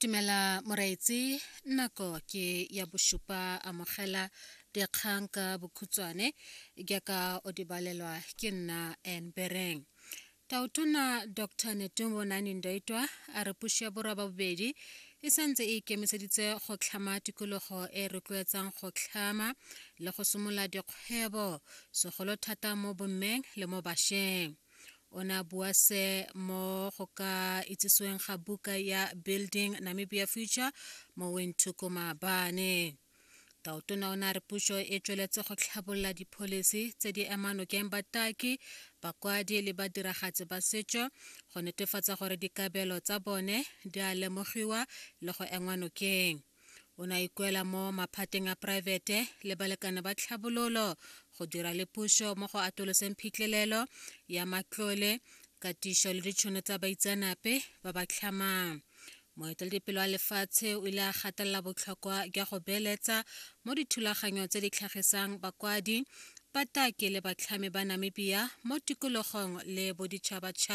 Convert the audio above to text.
Dumela moreetsi, nako ke ya bosupa amogela dikgang ka bokhutshwane jaaka o di balelwa ke nna Ann Bereng. Tautona Dr Netumbo Nandi-Ndaitwah a re puso ya borwa ba bobedi e santse e ikemiseditse go tlhama tikologo e e rotloetsang go tlhama le go simolola dikgwebo segolo thata mo bommeng le mo bašweng. O ne a bua se mo go ka itsisiweng ga buka ya Building Namibia Future mo Windhoek maabane. Tautona o ne a re puso e tsweletse go tlhabolola dipholisi tse di emang nokeng bataki, bakwadi le badiragatsi ba setso go netefatsa gore dikabelo tsa bone di a lemogiwa le go engwa nokeng. O ne a ikuela mo maphateng a poraefete le balekane ba tlhabololo go dira le puso mo go atoloseng phitlhelelo ya matlole, katiso le ditšhono tsa baitseanape ba ba tlhamang. Moeteledipele wa lefatshe o ile a gatelela botlhokwa jwa go beeletsa mo dithulaganyong tse di tlhagisang bakwadi, bataki le batlhami ba Namibia mo tikologong le boditšhabatšhaba.